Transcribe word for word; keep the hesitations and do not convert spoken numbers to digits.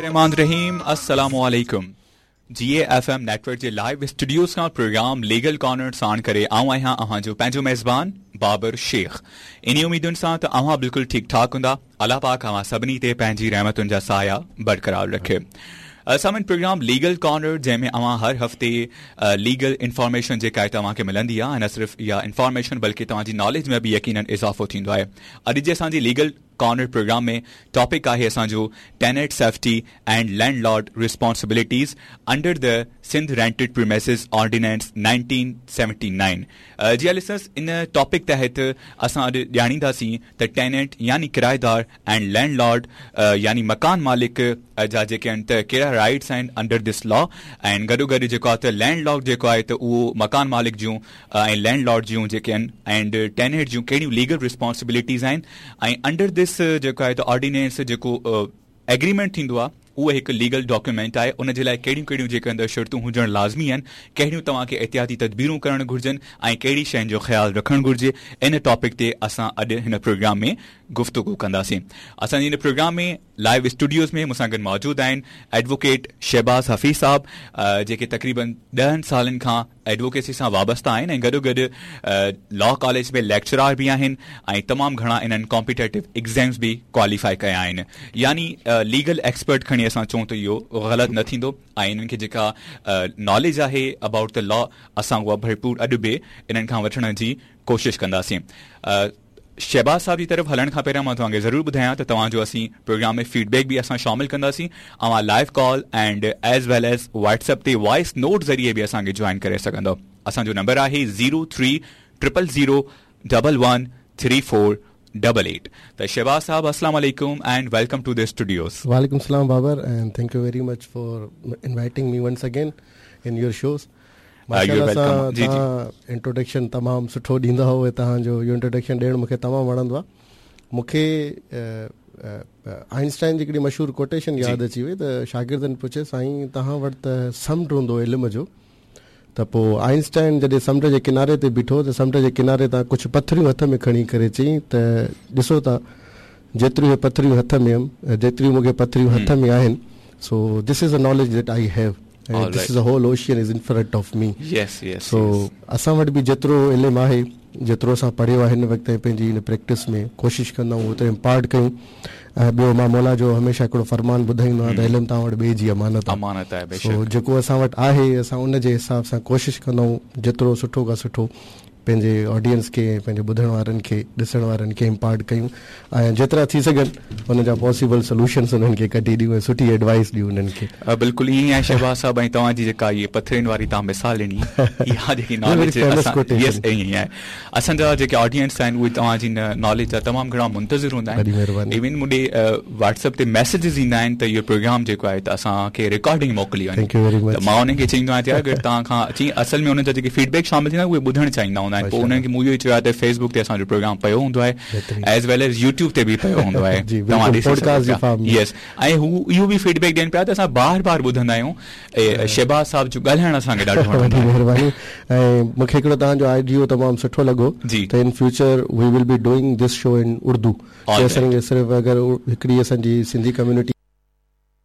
الرحمٰن الرحيم अस्सलाम वालेकुम। जी एफ एम नेटवर्क जे लाइव स्टूडियोज़ खां प्रोग्राम लीगल कॉर्नर साण करे आऊं आहियां अव्हां जो पंहिंजो मेज़बान बाबर शेख। इन उम्मीदुनि सां त अव्हां बिल्कुलु ठीकु ठाक हूंदा। अलाह पाक अव्हां सभिनी ते पंहिंजी रहमतुनि जा साया बरक़रार रखे। सामन प्रोग्राम लीगल कॉर्नर जंहिंमें अव्हां हर हफ़्ते लीगल इंफॉर्मेशन जेका आहे तव्हांखे मिलंदी आहे, न सिर्फ़ इहा इंफॉर्मेशन बल्कि तव्हांजी नॉलेज में बि यकीनन इज़ाफ़ो थींदो आहे। अॼु जे असांजी लीगल कॉर्नर प्रोग्राम में टॉपिक आहे असांजो tenant safety and landlord responsibilities under the Sindh Rented Premises Ordinance nineteen seventy nine. जी हा लिसनर्स, इन टॉपिक तहत असां अॼु ॼाणींदासीं त टेनेंट यानी किराएदार एंड लैंडलॉर्ड यानी मकान मालिक जा जेके आहिनि त कहिड़ा राइट्स आहिनि अंडर this law, ऐं गॾो गॾु जेको आहे त लैंडलॉर्ड जेको आहे त उहो मकान मालिक जूं ऐं लैंडलॉर्ड जूं जेके आहिनि एंड टेनेंट जूं कहिड़ियूं लीगल रिस्पॉन्सिबिलिटीज़ आहिनि ऐं अंडर this जेको आहे त ऑर्डिनेंस जेको एग्रीमेंट थींदो आहे उहो हिकु लीगल डॉक्यूमेंट आहे, उन जे लाइ कहिड़ियूं कहिड़ियूं जेके अंदरि शर्तूं हुजणु लाज़मी आहिनि, कहिड़ियूं तव्हांखे एहतियाती तदबीरूं करणु घुर्जनि ऐं कहिड़ी शयुनि जो ख़्यालु रखणु घुर्जे, इन टॉपिक ते असां अॼु हिन प्रोग्राम में गुफ़्तगू कंदासीं। असांजे हिन प्रोग्राम में लाइव स्टूडियोज़ में मूंसां गॾु मौजूदु आहिनि एडवोकेट शहबाज़ हफ़ीज़ साहब, जेके तक़रीबन ॾहनि सालनि खां एडवोकेसी सां वाबस्ता आहिनि ऐं गॾो गॾु लॉ कॉलेज में लेक्चरार बि आहिनि ऐं तमामु घणा इन्हनि कॉम्पिटेटिव एग्ज़ाम्स बि क्वालिफाई कया आहिनि। यानी लीगल एक्सपर्ट खणी असां चऊं त इहो ग़लति न थींदो ऐं इन्हनि खे जेका नॉलेज आहे अबाउट the law असां उहा भरपूर अॼु बि इन्हनि खां वठण जी कोशिशि कंदासीं। शहबाज़ साहब जी तरफ़ हलण खां पहिरियां मां तव्हांखे ज़रूरु ॿुधायां त तव्हांजो असीं प्रोग्राम में फीडबैक बि असां शामिलु कंदासीं। अव्हां live call and as well as WhatsApp ते वॉइस नोट ज़रिए बि असांखे जॉइन करे सघंदव। असांजो नंबर आहे zero three triple zero double one three four double eight. त शहबाज़ साहब अस्सलाम वालेकुम and welcome to the studios. वालेकुम सलाम Babar and thank you very much for inviting me once again in your shows. माशाअल्लाह सां तव्हां इंट्रोडक्शन तमामु सुठो ॾींदा हो ऐं तव्हांजो इहो इंट्रोडक्शन ॾियणु मूंखे तमामु वणंदो आहे। मूंखे आइंस्टाइन जी हिकिड़ी मशहूरु कोटेशन यादि अची वई त शागिर्दनि पुछे साईं तव्हां वटि त समुंड हूंदो इल्म जो, त पोइ आइंस्टाइन जॾहिं समुंड जे किनारे ते बीठो त समुंड जे किनारे तां कुझु पथरियूं हथ में खणी करे चयईं त ॾिसो था जेतिरियूं पथरियूं हथ में हुयमि, जेतिरियूं मूंखे पथरियूं हथ में आहिनि, so this is a knowledge that I have. And this is a whole ocean is in front of me. Yes, yes. So असां वटि बि जेतिरो इल्मु आहे, जेतिरो असां पढ़ियो आहे हिन वक़्त ताईं पंहिंजी हिन प्रैक्टिस में कोशिशि कंदा आहियूं ओतिरो इम्पार्ट कयूं। ऐं ॿियो मां मौला जो हमेशह हिकिड़ो फरमान ॿुधाईंदो आहियां त इल्मु तव्हां वटि ॿिए जी अमानत आहे, अमानत आहे। सो जेको असां वटि आहे असां उन जे हिसाब सां कोशिशि कंदा आहियूं जेतिरो सुठो खां सुठो पंहिंजे ऑडियंस खे, पंहिंजे ॿुधण वारनि खे, ॾिसण वारनि खे इम्पार्ट कयूं ऐं जेतिरा थी सघनि हुन जा पॉसिबल सोल्यूशन्स उन्हनि खे कढी ॾियूं ऐं सुठी एडवाइस ॾियूं उन्हनि खे। बिल्कुलु ईअं ई आहे शहबाज़ साहब। ऐं तव्हांजी जेका इहा पथरियुनि वारी तव्हां मिसाल ॾिनी, इहा जेकी नॉलेज यस ईअं ई आहे। असांजा जेके ऑडियंस आहिनि उहे तव्हांजी नॉलेज जा तमामु घणा मुंतज़िर हूंदा आहिनि। इवन मूंॾे व्हाट्सएप ते मैसेजिस ईंदा आहिनि त इहो प्रोग्राम जेको आहे त असांखे रिकॉर्डिंग मोकिली वञे, त मां उन्हनि खे चईंदो आहियां त अगरि तव्हां खां अची असल में उन्हनि जा जेके फीडबैक शामिल थींदा उहे ॿुधणु चाहींदा हूंदा आहिनि। पोइ उन्हनि खे मूं इहो ई चयो आहे त फेसबुक ते असांजो प्रोग्राम पियो हूंदो आहे, एज वेल एज यूट्यूब ते बि पियो हूंदो आहे, तव्हां ॾिसी सघो पिया। यस, ऐं हू इहो बि फीडबैक ॾियनि पिया त असां बार बार ॿुधंदा आहियूं शहबाज़ साहब जो ॻाल्हाइणु असांखे ॾाढो वणंदो आहे। महिरबानी। ऐं मूंखे हिकिड़ो तव्हांजो आइडियो तमामु सुठो लॻो त in future we will be doing this show in Urdu. असांखे सिर्फ़ अगरि हिकिड़ी असांजी सिंधी कम्युनिटी